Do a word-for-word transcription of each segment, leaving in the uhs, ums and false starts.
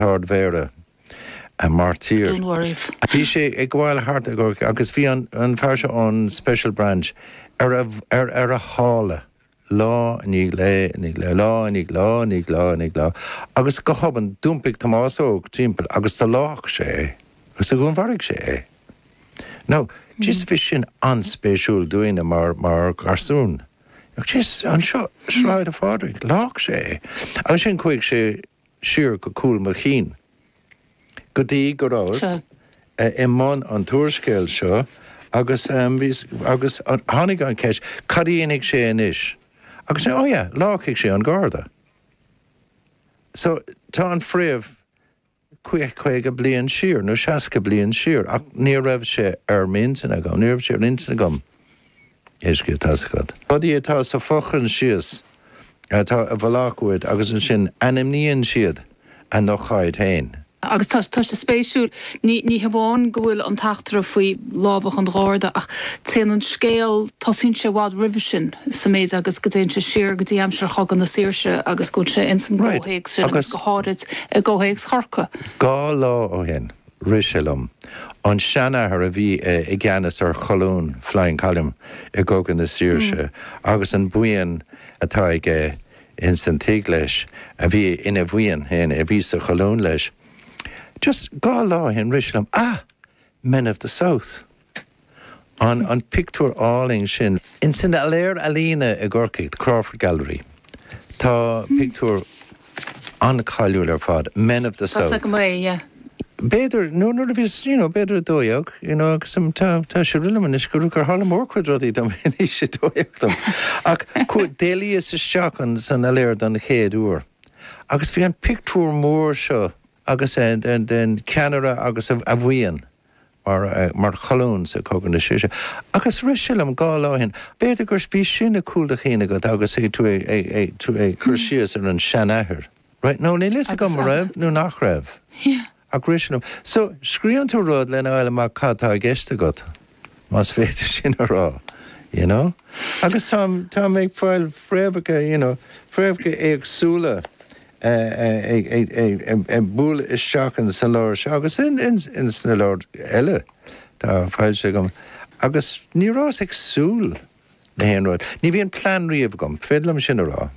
Ardmhéara a martyr. Bhí sé ag gabháil thart agus bhí an, an fear seo an Special Branch ar a, ar, ar a shála lá ní le ní le lá ní lá ní lá ní lá agus go hobann d'iompaigh Tomás Óg timpeall agus do leag sé é agus a dhúnmharaigh sé é. Now, just bhí sin an-spéisiúil dúinne mar mar gharsún. Just anseo Sráid Phádraig leag sé é. Agus sin chuaigh sé siar go cúl mo chinn. Go dtí go rabhas i mbun an t-úrscéil seo agus um, agus tháinig an ceist cad a dhéanfaidh sé anois. Agus oh yeah, leagfaidh sé an garda. So tá an fréamh caoga bliain siar nó seasca bliain siar ach ní raibh sé ar m'intinn agam, ní raibh sé ar intinn agam. Éisce tascad. Rudaí atá sa fhochoinsias atá i bhfolach uait agus ansin ainmníonn siad a n-ócáid féin. Agus tá tá sé spéisiúil ní ní hamháin go bhfuil an t-eachtra faoi lámhach an Gharda ach téann an scéal tosaíonn sé i bhfad roimhe sin sa méid agus go dtéann sé siar go dtí aimsir Chogadh na Saoirse agus go bhfuil sé ins an gcomhthéacs sin agus go háirid i gcomhthéacs Chorcaí. Dhá lá ó shin rith sé liom an seanathair a bhí i gceannas ar cholún Flying Column i gCogadh na Saoirse agus an buíon atá aige ins an tigh leis a bhí ina bhuíon féin a bhí sa cholún leis. Just dhá lá ó shin rith sé liom ah Men of the South. An an pictiúr álainn sin. In san Gailearaí Ealaíne i gCorcaigh, the Crawford Gallery. Tá pictiúr an-cháiliúil ar fad, Men of the South. yeah. B'fhéidir nó nuair a bhí you know, b'fhéidir dó dhéag you know, agus tá tá sé rillam is gur gur tharla mórchuid rudaí dom in aois a dó dhéag dom. Ach d'éalaíos isteach an san ghailearaí don chéad uair. Agus bhí an pictiúr mór seo agus den den ceannaire agus a bhuíon mar mar cholún sa Chogadh na Saoirse. Agus rith sé liom dhá lá ó shin, b'fhéidir gur bhí sin i gcúl do chinn agat agus é tú é tú é cur síos ar an seanathair. Right? No, níl a fhios agam raibh nó nach raibh. Yeah. Ach rith sé liom. So scríobhann tú rud lena fháil amach cad tá i gceist agat más féidir sin a rá. You know? Agus tá tá ag fáil fréamhacha, you know, fréamhacha éagsúla ag bualadh isteach in sa leabhar seo agus in in in sna leabhair eile tá foilsithe agam. Agus ní rabhas ag súil le haon rud. Ní bhíonn plean riamh agam, féidir liom sin a rá.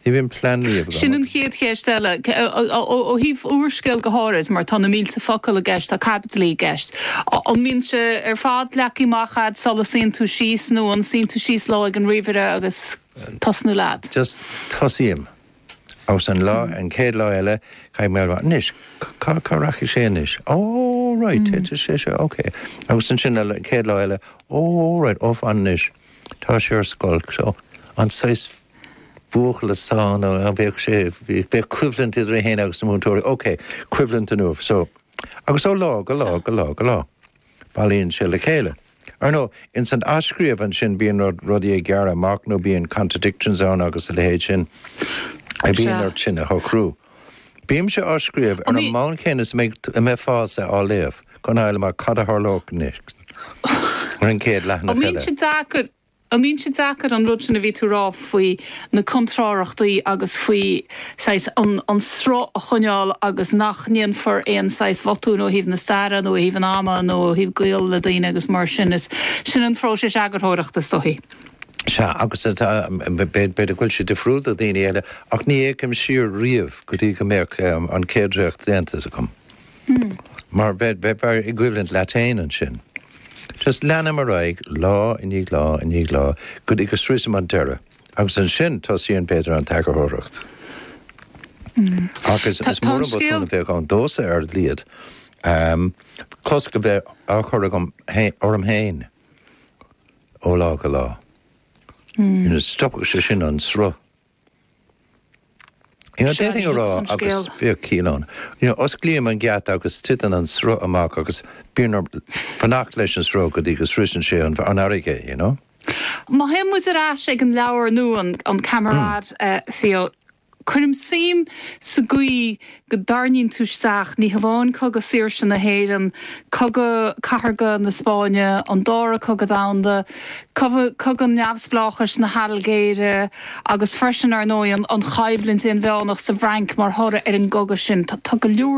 Ní bhíonn plean riamh agam. Sin an chéad cheist eile ó thaobh úrscéal go háirid mar tá na mílte focal i gceist tá caibidlí i gceist. An mbíonn sé ar fad leagtha amach agat sula suíonn tú síos nó an suíonn tú síos lá ag an ríomhaire agus tosnú leat. Just tosaím. Agus an lá an chéad lá eile caithfidh mé anois cá cá rachaidh sé anois. Oh right, mm. sé sé okay. Agus ansin an chéad lá eile oh right, off an anois. Tá sé ar scoil so an saghas buachaill sán a bheadh sé bheadh coimhlint idir é féin agus na múinteoirí. Ok, coimhlint inniu so agus ó lá go lá go lá go lá. Bailíonn sé le chéile. Ar nó in san athscríobh ansin bíonn rud rudaí ag gearradh amach nó bíonn contradictions ann agus a leithéid sin. A bíonn ort sin a shocrú. Bímse á scríobh ar an mbonn céanna is a mbeifeá á léamh chun fáil amach cad a tharlódh ar an chéad leathanach An mbíonn eile. sé deacair An mbíonn sé deacair an rud sin a bhí tú rá faoi na contrárthachtaí agus faoi saghas an, an sruth a choinneáil agus nach ndéanfar aon saghas botún ó thaobh na staire nó ó thaobh an ama nó ó thaobh gaol le daoine agus mar sin is sin an phróiseas eagarthóireachta is dóichí. Sea agus b'fhéidir go bhfuil sé difriúil do daoine eile ach ní fhéachaim siar riamh go dtí go mbeadh an chéad dréacht déanta agam. Mar bheifeá i gcoimhlint leat féin ansin. Just leanaim ar aghaidh lá i ndiaidh lá i ndiaidh lá go dtí go sroichim an deireadh. Agus ansin tosaíonn b'fhéidir an t-eagarthóireacht. Agus is mór an botún a bheadh ann domhsa ar a laghad. Um, cosc a bheith á chur agam orm féin ó lá go lá. Mm. Stopfadh sé sin an sruth. You know, d'fhéadfainn a rá agus bheadh ciall ann. You know, osclaím an geata agus titeann an sruth amach agus bíonn orm fanacht leis an sruth go dtí go sroicheann sé an, an fharraige, you know? Má théann muid ar ais ag an leabhar nua an, an Camarade mm. uh, Theo Cuirim suim sa gcaoi go dtarraingíonn tú isteach ní hamháin cogadh saoirse na hÉireann, cogadh cathartha na Spáinne, an dara cogadh domhanda, cogadh neamhspleáchais na hAilgéire agus freisin ar ndóigh an choimhlint inmheánach sa bhFrainc mar thoradh ar an gcogadh sin. Tá go leor